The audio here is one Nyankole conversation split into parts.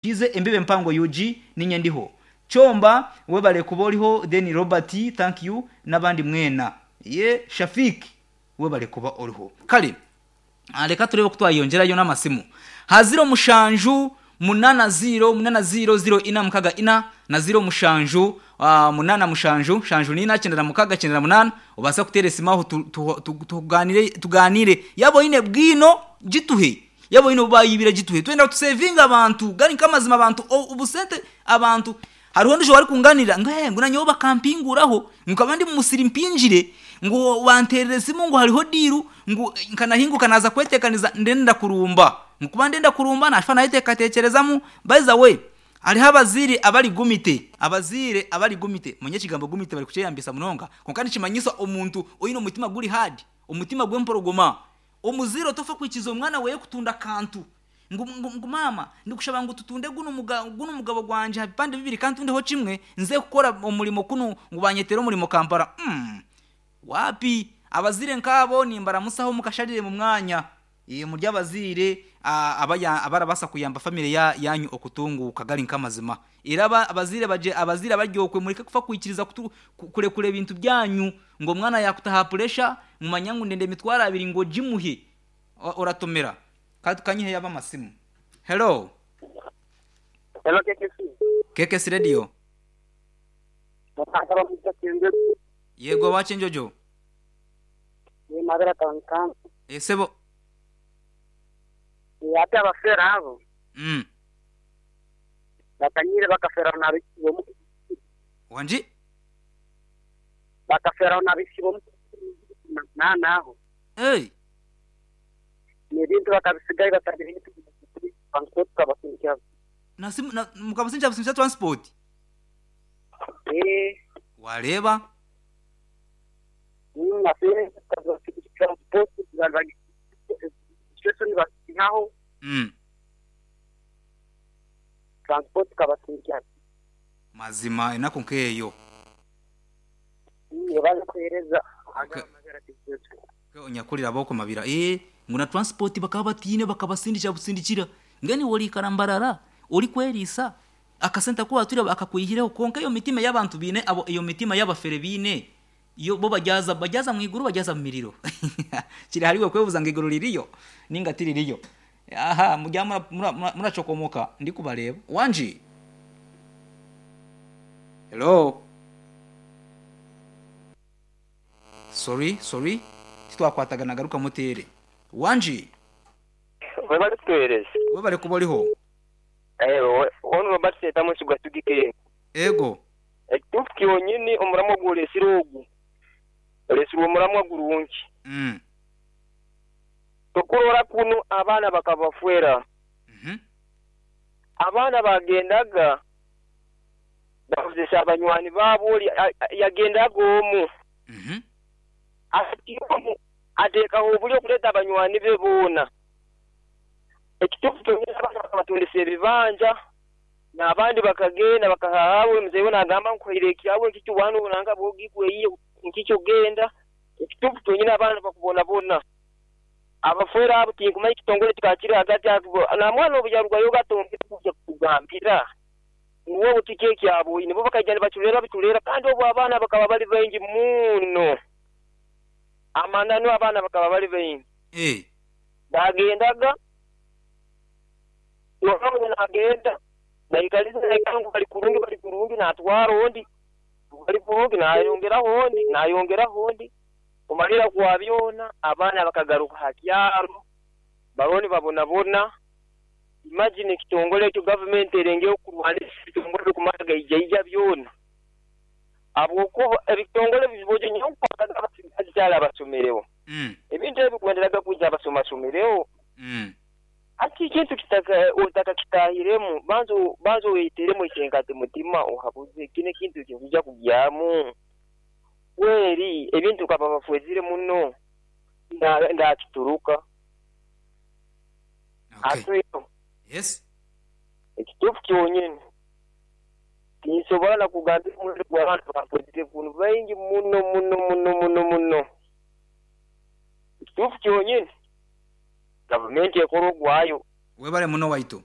Kize embebe mpango UG ninye ndiho Chomba webale kuba oriho then Robert thank you n'abandi mwena ye Shafik webale kuba oriho kale reka turebe ko twayongerayo n'amasimu ha 07 80 80 04 64 na 07 87 74 96 ubasa kuteera esimu aho tuganire tuganire yaba oyine bwino gituhe yaba oyine obubayibire gituhe twenda tusevinga abantu gari nk'amazima abantu obusente abantu hariho ondijo warikunganira ngu hey, ngu nanyowe bakampinguraho nkaba ndi mumusiri mpingire ngu banterera esimu ngu hariho diru ngu nkanahinguka naza kwetekaniza ndenda kurumba nkuba ndenda kurumba nashwa nayeteekateekerezamu by the way hariho abazire abari gumite abazire abari gumite manye ekigambo gumite bari kukyeyambisa munonga konka nikimanyisa omuntu oyine omutima guri hard omutima gw'emporogoma omuzire otofa kwikiza omwana weye kutunda kantu ngu, ngu, ngu mama ndikushaba ngu tutunde guno muga, guno mugabo gwanje ha bipande bibiri kandi tundeho kimwe nze kukora omurimo kuno ngu banyetere omurimo Kampala wapi abazire nkabo nimbaramusaho mukasharire mu mwanya e, muri abazire abaya abarabasa kuyamba family ya yanyu okutunguka gari nkamazima iraba abazire baje abazire baryokwe mureke kufa kwikiriza kurekure ebintu byanyu ngo mwana yakutaha pressure mumanya ngu ndende mitwara abiri ngo jimuhe oratomera kanyihe yaba amasimu hello Hello KKC. KKC radio yego wacenjojo Ni madara town esebo Ate abafera abo bakanyire bakafera nabisibo wanji bakafera nabisibo na naho hey n'ebintu bakabisigaye batagira transport kabasindikira nasimu na, mukabasinja businja transport eh wareba nafere transport station basinaho transport kabasindikira mazima enako nkeyo baje kuhereza nyakurira aboko mabira eh ngo na transport bakaba batine bakabasindikira busindikira ngani wori karambarara uri kwerisa akasenta ko batura akakwihireho konka iyo mitima y'abantu bine abo iyo mitima y'abafere bine iyo bo bajyaza bajyaza mu iguru bajyaza mu miriro kiri hariwe kwebuza ngo iguru ririyo ninga tiririyo aha mujya muracokomoka ndi kubareba wanji hello sorry sorry titwakwatagana garuka mutere wanji webale kutuhereza webale kuba oriho ewe ono Robert Setamu sigwatugike ego ekituufu kyonyini omuramwa gwolesire ogu olesire omuramwa gurungi tokurora kuno abaana bakabafwera abaana bagendaga bakozesa abanywani baabo oli yagendaga omu ati omu ateekaho obuli okuleeta abanywani be boona ekituufu kyonyini abaana bakabatundisa ebibanja n'abandi bakagenda bakahahawe muzeeyi we nagamba nkuhaire ekyawe nkikyo wanu nanga bwogikweyiye nkikyo genda ekituufu kyonyini abaana bakubonabona abafwera abo tinkumanya ekitongole kikakiri hagati namwana obu yarugayo gatongere kujja kugambira nguwe tiki ekyabwe nibo bakaija nibaculera biculera kandi obu abaana bakaba bali baingi muno amananu abaana bakaba bali baingi eh bagendaga nokawe nagenda naikaliza naikangu bali kurungi bali kurungi natwara ondi bali kurungi nayongeraho ondi nayongeraho ondi kumalira kwa byona abaana bakagaruka hakyaro baroni babonabona imagine ekitongole ekyo gavumenti erengeye okurwanisa ebitongole bikumara gaijaija byona habwokuba ebitongole bibojo nyokwagaza abasigazi abasomerewo ebintu ebi bikwenderaga kwija abasomasomerewo ati ekintu kitaka otaka kitahiremu banza banza weiteremu ekinkati mutima ohabuze kino ekintu kikuja kugyamu kweri ebintu kaba bafwezire muno ndakituruka okay. Yes ekituufu kyonyini tinsobola nakugambira omuwendo gw'abantu bafwezire kunu baingi muno muno muno muno muno ekituufu kyonyini gavumenti ekora ogwayo webale muno waitu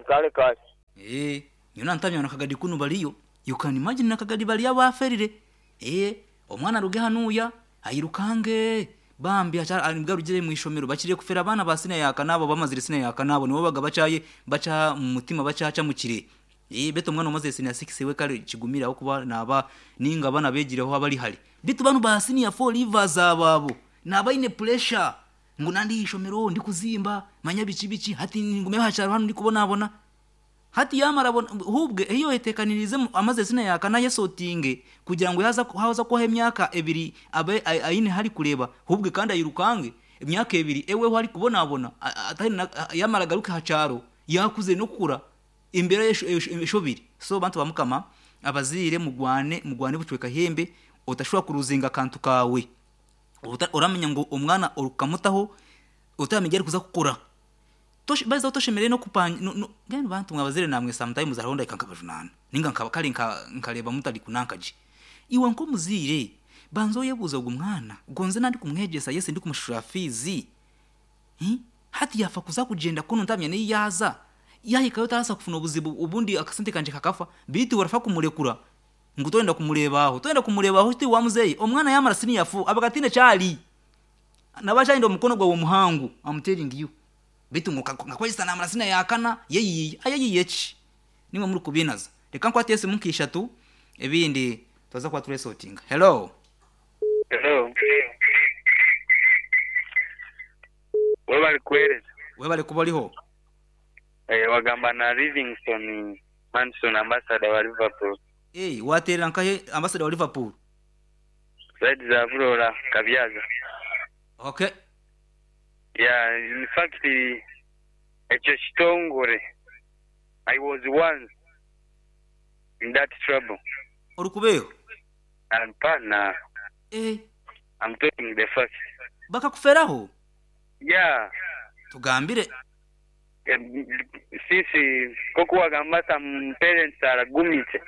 kale kale. Eh, nyowe nantamya na Kagadi kunu bariyo. You can imagine na Kagadi bariyo abaferire. Eh, omwana aruge hanuya ayirukange bambi nibwo arugire mu ishomero bakiriye kufera abaana ba sina yakanabo bamazire sina yakanabo nibo baga bacaye baca mu mutima bacaca mukire. Eh, beto omwana omaze sina 6 we kale kigumira aho kuba naba ninga abana begireho abari hari. Bitu banu ba senior 4 livers ababo nabaine pressure ngu nandi ishomero ndi kuzimba manya biki biki hati ngume hacharo hano ndi kubonabona hati yamara hubwe iyo yetekanirize amaze sina yakana yesotinge kugira ngo yaza haza kuha emyaka ebiri abe ayine hari kureba hubwe kandi ayirukange emyaka ebiri ewe hari kubonabona atari yamara garuke hacharo yakuze no kura imbere yeshobiri. So bantu bamukama abazire mugwane mugwane bucweka hembe utashobora kuruzinga kantu kawe uramenya ngo umwana urukamutaho utamenya ari kuza kukura baza utoshemereye no kupanya no gani bantu mwabazire namwe sometimes aronda ikankabajunana ninga nkabakali nkareba mutari kunankaje iwe nko muzire banzo yebuza ugu mwana gonze nandi kumwegesa yese ndi kumushura fizi hati yafa kuza kugenda kuno ntamya ni yaza yahikayo tarasa kufuna obuzibu ubundi akasente kanje kakafa bitu warafa kumurekura ngo toenda kumurebaho toenda kumurebaho ti wamuzeyi omwana yamara sini yafu abagatine cyali nabashaindo omukono gwawe omuhangu I'm telling you bitu ngakwesa namara sina yakana yeyiye ayeyiye ki nimwe muri kubinaza reka nkwate ese munkishatu ebindi tuza kwa turesotinga. Hello. Hello. Webali kuhereza. Webali kuba oliho. Wagamba na Livingston Manson ambassador wa Liverpool. Waterera nkahe ambassador wa Liverpool? Said za Vurora Kabyaza. Okay. Yeah, in fact ekyo kitongore I was once in that trouble. Orukubeho? Hapana. I'm talking the fact. Bakakuferaho? Yeah. Tugambire. Sisi koku wagamba some parents are gumite.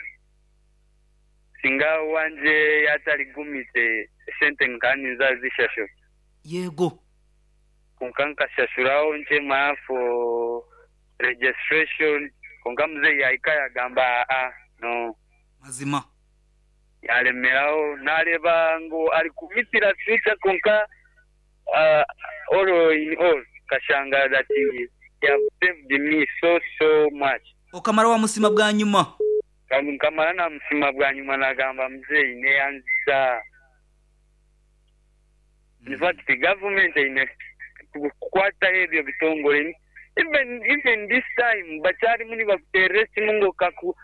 Singa wanje yatari gumite sente nkani nzazishasho. Yego. Kunkanka shashuraho nchema for registration konka mzee yaika yagamba a no mazima yalemeraho nareba ngo ari kumitira future konka all in all kashanga that he have saved me so much. Okamara wa musima bwa nyuma kamara na musima bwa nyuma nagamba mzee neyanza. In fact the government ine kukwata ebyo bitongore even this time bachari muni bakuteresi mungo kaku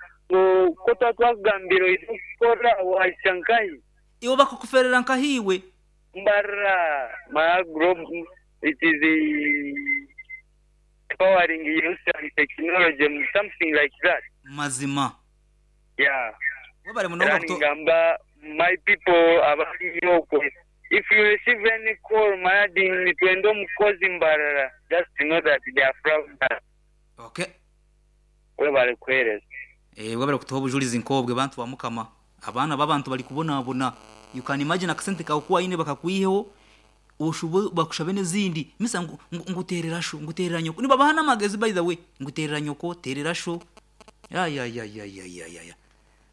kota twagambiro ikora waishankai iwo bakukuferera nkahiwe mbara ma group it is the powering use and technology something like that mazima. Yeah, wabare munonga ngamba my people abaliyo. If you receive any call, Mayadin, twendo mukozi mbarara, just to know that they are proud. Okay. Webale kuhereza. Webale kutuha obujulizi nkobwe bantu ba mukama. Abaana b'abantu bari kubonabona. You can imagine akasente kawe kuwa ine bakakwiheho oshubo bakushabe n'ezindi. Misa nguterera sho, nguterera nyoko. Niba bahana amagezi by the way, nguterera nyoko, terera sho. Ya ya ya ya ya ya ya.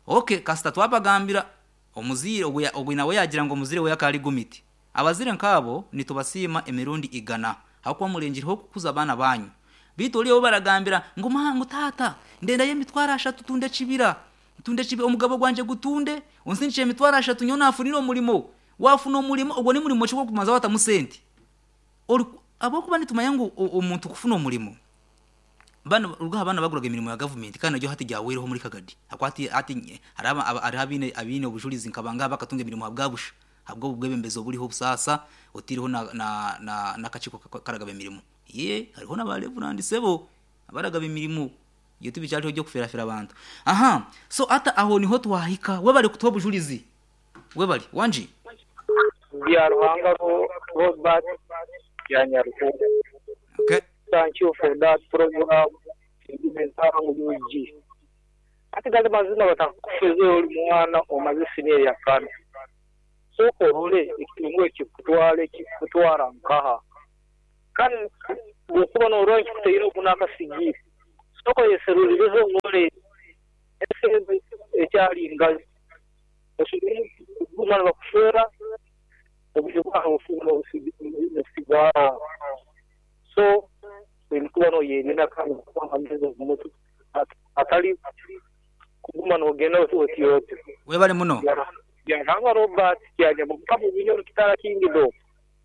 Okay, kasita twabagambira omuzire ogwe nawe yagira ngo omuzire we yakari gumiti. Abazire nkabo nitubasima emirundi igana hakuba murengireho kukuza abana banyu. Bitu oliyo baragambira ngo mahangu tata ndenda yemitwara ashatu tunde kibira tunde kibira omugabo gwanje gutunde onsinche emitwara ashatu nyona afunira omulimo wafuna omulimo ogwo ni mulimo chiko kumaza watamusenti abokuba nitumanya ngo omuntu kufuna omulimo bana ruga abana baguraga emirimo ya government kandi najyo hati jyawereho muri Kagadi akwati ati haraba arabine abine obujulizi nkabanga bakatunga emirimo habwabusha habwo bwebembezo buriho busasa otiriho na na na nakachiko karagaba emirimo ye hariho n'abareverand sebo abaragaba emirimo iyo tubicyariho byo kuferafera abantu. Aha, so ata aho niho twahika webali kutuha obujulizi webali wanji ya Ruhanga Robert ya Nyaruhura. Okay, thank you for that program. UG ati gali mazina batakufeze oli mwana omaze senior ya kane soko role ekitongole kikutwale kikutwara nkaha kandi bwokuba n'orora kikuteire okunaka sigiri Sooka oyeserurireho orole ensi ekyali ngali. Osobole kuguma nibakushwera obwire bwawe nobusigaraho. So oine kuba noyerinda kandi okuba amagezi omu mutwe hatari kuguma nogenda oti oti. Webale muno. Byaruhanga Robert Kyanyama Mukama Bunyoro Kitara Kingdom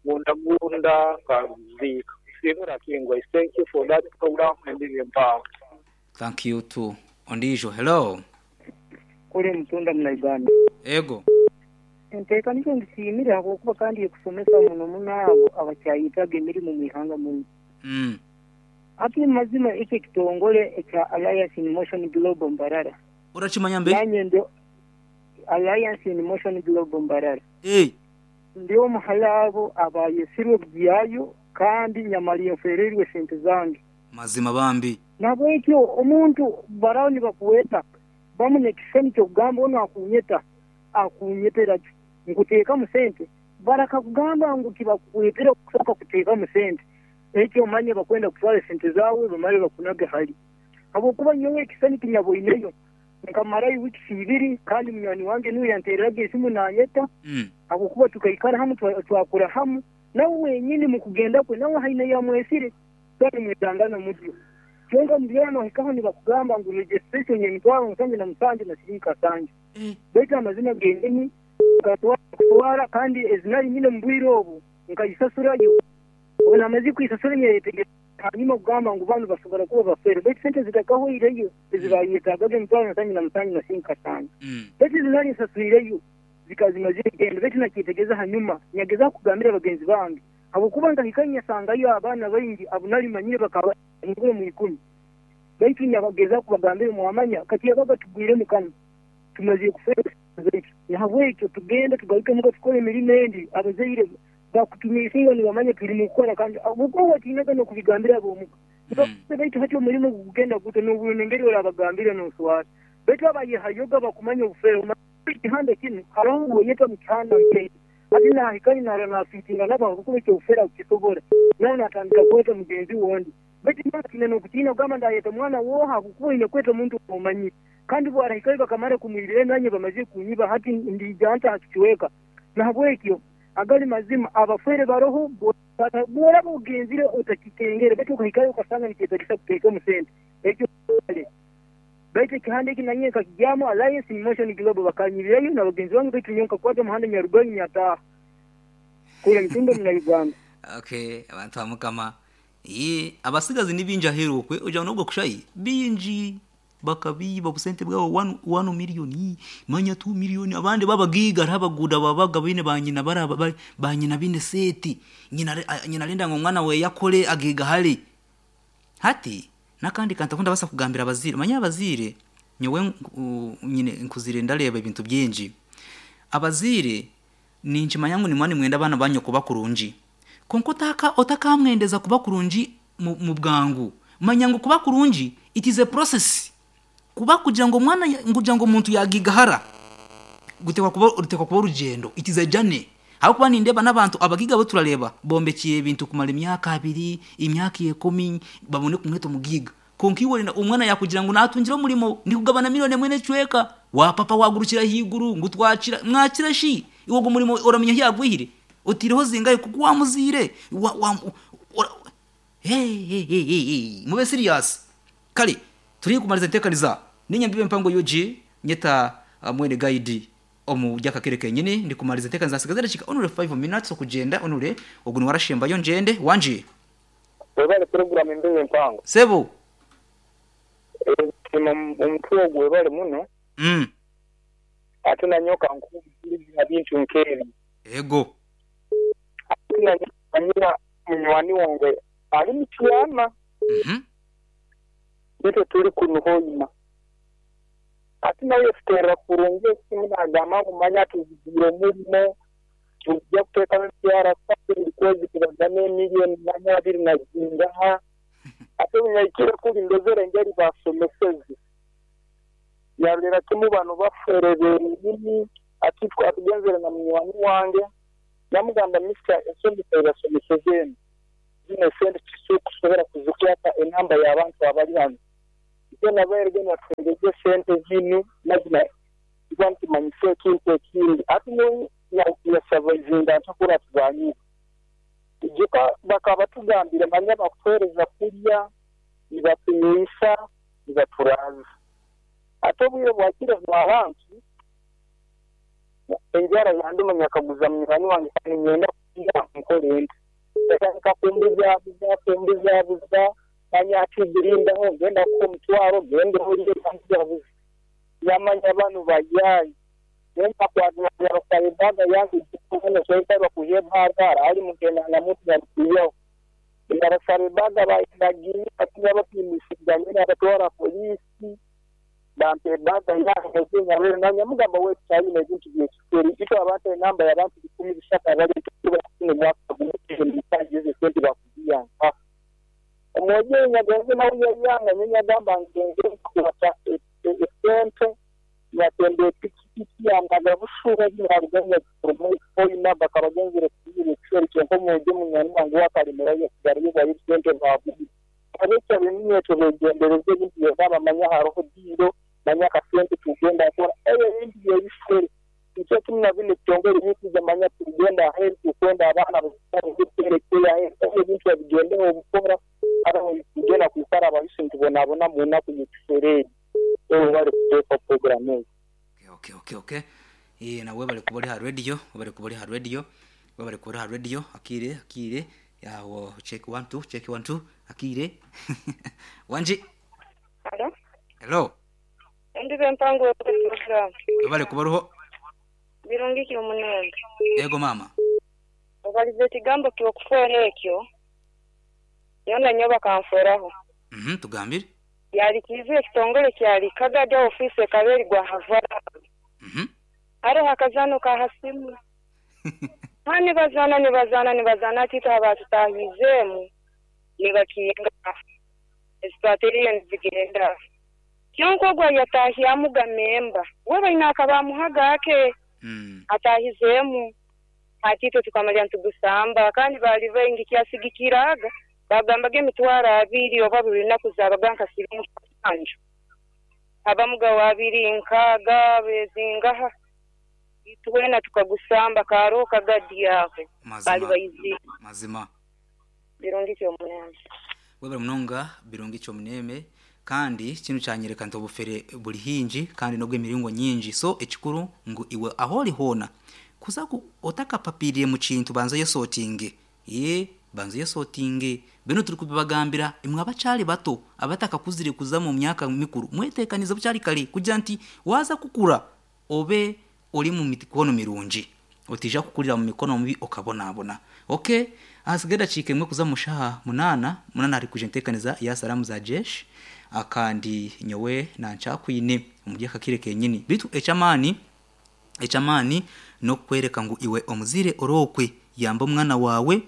Gundagunda Kaziika Singura Kingwa Thank you for that program Embibo Empango. Thank you too. Ondiijo, hello. Kuri mutunda muna Uganda. Ego. Enteeka nikyo ngisiimire ahabw'okuba kandi ekusomesa muno muno abo abakyayetaaga emirimo omu ihanga munu. Hati omu mazima eki ekitongore ekya Alliance in Motion Global Mbarara. Orakimanya mbe? Nanye ndi Alliance in Motion Global Mbarara. Eeh. Ndi omu hali abo abayesirwe kugyayo kandi nyamara nfwereirwe esente zange. Mazima bambi. Nahabwekyo omuntu baraho nibakweta bamu n'ekishushani ky'okugamba onu akunyeta akunyetera ki? Nkuteekamu sente? Barakakugamba ngu tibakukwetera kusooka kuteekamu sente. Ekyo omanye bakwenda kutwara esente zaawe bamare bakunage hali. Habwokuba nyowe ekishushani kinyaboineyo nkamarayo wiikisi ibiri kandi munywani wange nuwe yanteereraga esimu naanyeta habwokuba tukaikara hamu twakura hamu. Nawe wenyini mukugenda kwe nawe haine yamwesire kandi mwetangana mutyo. Kyonka omu nohikaho nibakugamba ngu registration y'emitwaro 77 na siringi kasanju. Baitu amazima genyini nkatwara kandi ezi nari nyine omu bwire obu nkayisasurayo. Obu namazire kuyisasura nyeyetegereza hanyuma kugamba ngu banu basobora kuba bafere baitu sente zitakahweireyo ezi bayetagaga emitwaro 77 na siringi kasanju. Baitu ezi nari nsaswireyo zikaba zimazire kugenda baitu nakyetegereza hanyuma nyagezaho kugambira bagenzi bange habwokuba nkahika nyasangayo abaana baingi abu nari manyire bakaba bahingura omu ikumi. Baitu nyabagezaho kubagambira mwamanya kati yabaga tugwiremu kanu tumazire kufeerwa sente zaitu. Nahabwekyo tugende tugaruke muka tukore emirimo endi abazaire bakutumiisinga nibamanya turi mukukora kandi habwokuba watiinaga n'okubigambira ab'omuka. Baitu hati omurimo gugenda guta n'obwire engeri orabagambira noswara. Baitu abayehayoga bakumanya obufeere ekihanda kinu haroho ngu oyeta mu kihanda nk'ekyo. Hati nahikayo narora nafiitinga nabo habwokuba eky'obufeere akukisobora. Nawe natandika kweta mugenzi we ondi. Baitu nyowe ntiina n'okutiina kugamba ndayeta omwana wooha habwokuba oine kweta omuntu ou omanyire. Kandi bwarahikayo bakamara kumwibira nanye bamazire kunyiba hati ndiija nta ha kicweka. Nahabwekyo agali mazima abafeere baroho bworaba ogenzire otakikengere baitu okahikayo okasanga nikyetagisa kuteekamu sente ekyo kale. Baitu ekihanda eki nanye nkakigyamu Alliance in Motion Global bakanyibirayo na bagenzi bange baitu nyowe nkakwata omuhanda nyarugayo nyataaha. Kura Mitumba muna Uganda. Okay, abantu ba Mukama. Yee, abasigazi ni bingi aheeru okwe, ogira ngu n'obwo kushayi, bingi bakabiiba obusente bwabo one, one million, manya two million, abandi b'abagaiga hariho abaguuda ababaga baine banyina bari aba banyina baine seeti, nyina nyina arenda ngu omwana weeye akore agaigahare. Hati n'akandi kantu aku ndabaasa kugambira abazaire, omanyire abazaire nyowe nyine nkuzire ndareeba ebintu bingi. Abazaire ninkimanya ngu nimuba nimwenda abaana banyu kuba kurungi, kwonka otaka otakamwendeza kuba kurungi mu bwangu. Manya ngu kuba kurungi it is a process. Kuba kugira ngu omwana kugira ngu omuntu yagaigahara guteekwa kuba ruteekwa kuba orugyendo, it is a journey. Ahabw'okuba nindeeba n'abantu abagaiga abu turareeba bombekire ebintu kumara emyaka abiri, emyaka ikumi babone kumweta omugaiga. Kwonka iwe orenda omwana yaakugira ngu naatungire omurimo ndikugabana milioni emwe n'ekicweka, waapapa waagurukira ahaiguru ngu twakira. Mwakira shi? Iwe ogwo murimo oramanya ahu yaagwihire? Otaireho zingahi? Ku waamuzaire wa wa ora Hee mube serious. Kare turi haihi kumariza enteekaniza. Niinyambiba empango UG nyeta mwene guide omu ry'akakere kenyini ndikumariza enteekaniza nsigaze edakiika only 5 minutes okugyenda only ogu niwe arashembayo ngyende. Wangi? Webale program embeho empango. Sebo. Nsiima omutwe ogwo webale muno. Ate nanyowe kankuhe obujulizi ha bintu nk'ebi. Ego. Ate nanyowe manyira munywani wange ali Mityana. Itwe turi kunu Hoima. Ate nawe yatuteerera kurungi esimu nagamba ngu manya tuzigiire omurimo, nitwija kuteekamu emitwaro asatu buri kwezi tubagane emiliyoni manya abiri na zingaha. Ate obu nyahikire kuri ndozere engeri baasomeseze. Yarorera kimu banu bafere benyini. Ati twatugenzere na munywani wange Namugamba, Mister, ensomesa ei basomeseze enu, zinu esente titukusobora kuzikwata enamba y'abantu abali hanu. Itwena abahererwa nibatuheereza esente zinu mazima tuba nitumanyisa ekintu ekindi. Hati nyowe nyasavaivinga nta kura tuzanyiire. Ijuka bakaba batugambire manya bakutuheereza kurya, nibatunywisa, nibaturaaza. Hati obwire bwakire bwa ranki, enjara yanduma nyakaguza munywani wange ka niinyenda kurya nkore nta? Yatandika kumbuzabuza, kumbuzabuza, manya ati rindaho ngenda kukuha omutwaro genda orye, yambuzabuza. Yamanya banu bayaayi. Nyowe nakwatira ebaaga yange gikuboona kwiha ebaaga harahari mugenda na muntu yarikwihaho. Nabasaba ebaaga bagiiha bapimisibwa nyowe nabatwara poliisi bampa ebaaga yange nanyamugamba wetu twine ebintu byekiferi itwe abantu enamba y'abantu 300 abari kufuna omwaka gumwe ezo sente bakuziha nka. Omwojo nyagenze nawe yayanga nyowe nyagamba ngenze nkukwata esente nyatemba epikipiki yandaga bushuba naruga nyagiforoma bakaba bagenzire kuyiba ekiferi kyonka omwojo munywani wange we akalemerayo yasigarayo bwayo sente babubi. Abekya b'eminyeeto begyendereze ebintu byona bamanya hariho diiro manya akasente tugenda kukora ebyo ebintu byebifere. Nikyo kimwe na binu ebitongore ebirikwija manya tugenda aheeru tukwenda abaana aheeru ebyo ebintu babigyendeho obukora hariho tugenda kwikara abahusi nitubonabona mu naku y'ekifere egi. Ewe bari kuteeka puroguramu egi. Okay. Nawe bari kuba ori ha radio, bari kuba ori ha radio, bari kuba ori ha radio, akire, akire. Yawo check 1 2, check 1 2, akire. Wanji. Hello. Hello. Ndibe mpango wa program. Bari kuba ruho. Birungi ki omunembe. Yego mama. Obalize ekigambo ky'okufuera ekyo. Yona nyo bakanfueraho. Tugambire. Yali kizu ekitongole kyali kagada office ekaberi gwa Havara. Hariho akazano ka hasimu. Ha nibazana ati abatutahizemu nibakinga. Ezitwateriye nizigenda. Kyonko gwa yatahyamu gamemba. We baina akabamuhaga ake. Atahizemu. Ati tukamalya ntugusamba kandi bali baingi kyasigikiraga. Bagambaga emitwaro abiri oba buli lunaku zabaga nka siringi musanju. Abamuga wa abiri nkaaga bezingaha. Itwena tukagusamba karo kagadi yawe. Bali bayizi. Mazima. Birungi kyomuneme. Webale munonga birungi kyomuneme kandi kinu kyanyereka nti obufere buli hingi kandi n'obw'emiringo nyingi. So ekikuru ngu iwe aho ori hoona kuza otakapapiriire mu kintu banza oyesotinge. Banza oyesotinge. Bino turi kubibagambira imwe abakyari bato abatakakuzire kuza mu myaka mikuru mwetekanize bukyari kare kugira nti waza kukura obe ori mu mikono mirungi otija kukurira mu mikono mibi okabonabona. Okay, ahasigaye dakiika emwe kuza mu shaha 8 ari kuja ntekaniza ya salamu za jeshi akandi nyowe nankyakwine omuri akakire kenyini bitu ekyamaani n'okukwereka ngu iwe omuzire orokwe yamba omwana wawe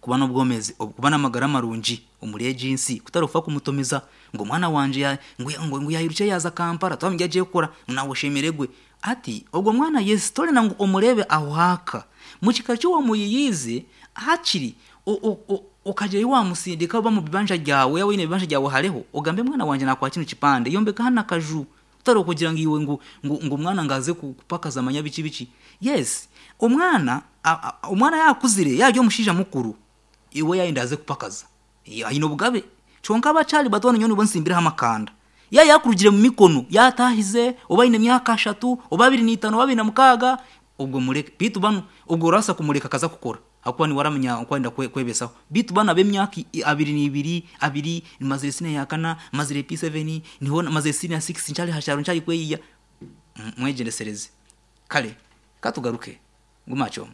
kuba n'obwomezi kuba n'amagara marungi omuri egi nsi kutarufa kumutomeza ngu omwana wanje ngu yayiruke yaza Kampala twamujya agiye kukora nawe oshemeregwe ati ogwo mwana Yesu torena ngu omurebe aho haka mu kika ky'owamuyiyize hakiri okagyeyo wamusindika oba mu bibanja ryawe yawe wine ebibanja ryawe hariho ogambe mwana wanje nakwa kino kipande yombeka hano akaju utari okugira ngu iwe ngu omwana ngaze kupakaza amanya biki biki. Yes, omwana yakuzire yarya omushaija mukuru iwe yayenda aze kupakaza aine obugabe kyonka abakyari bato nyowe nibo nsimbireho amakanda yakurugire mu mikono yatahize oba aine emyaka 3 oba 25 oba 26 ubwo mureke bitu bano ubwo urasa kumureka akaza kukora akuba ni waramenya kwenda kwebesaho bitu bana b'emyaka 22 abiri mazire sine ya kana mazire P7 niho mazire sine ya 6 ncyari hasharo ncyari kweyiya mwegendesereze kale katugaruke ngumacoma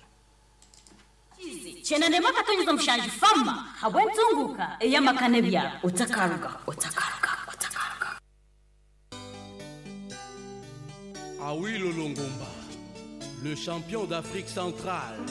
Chenende maka tonyiza mushanji fama habwe ntunguka eyamakane bya otakaruga. Awilo Longomba, le champion d'Afrique centrale.